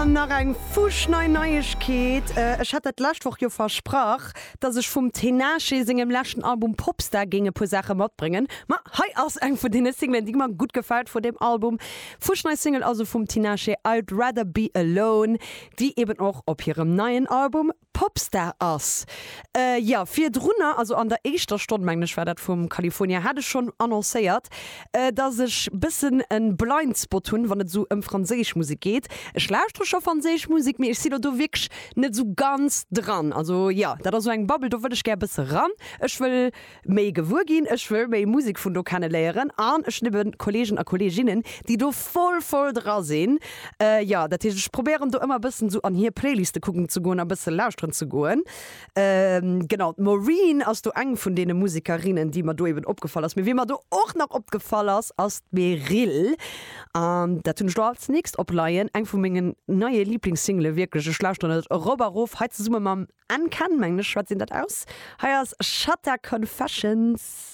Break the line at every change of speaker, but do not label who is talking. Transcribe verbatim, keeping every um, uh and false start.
An nach eng fuschnei Neiegkeet, Ech hat dat d'lescht Woch jo versprach, dass ech vum Tinashe sengem leschten Album Popstar géing e puer Saache matbréngen. Ma hei ass eng vun deene Singlen, déi mer gutt gefält vun deem Album. Fuschnei Single also vum Tinashe, I'd Rather Be Alone, déi eben och op hirem neien Album Popstar ass. Jo, virdrunner, also an der éischter Stonn, mengen ech war dat, vum California, hat ech schonn annoncéiert, dass ech bëssen e Blind Spot hunn, wann et esou ëm franséisch Musek geet. Ech lauschtere scho franséisch Musek, mee ech sinn elo do wierklech net esou ganz dran. Also jo, dat ass esou eng Bubble, do wëll ech gär bësse ran. Ech wëll méi gewuer ginn, ech wëll méi Musek vun do kenneléieren an ech hunn eben Kollegen a Kolleginnen, déi do voll, voll dra sinn. Jo, dat heescht, ech probéieren do ëmmer e bëssen esou an hir Playliste kucken ze goen a bësse lauschteren ze goen. Genau, d'Maureen ass do eng vun deene Musekerinnen, déi mer do eben opgefall ass. Mee wie mer do och nach opgefall ass, ass d'Meryl. An dat hunn ech do als nächst opleien, eng vu mengen neie Liblingssingele wierklech. Ech lauschteren et erop a rof, hei zesumme mam N-Ken, mengen ech, schwätzt een dat aus. Hei ass Shatta Confessions.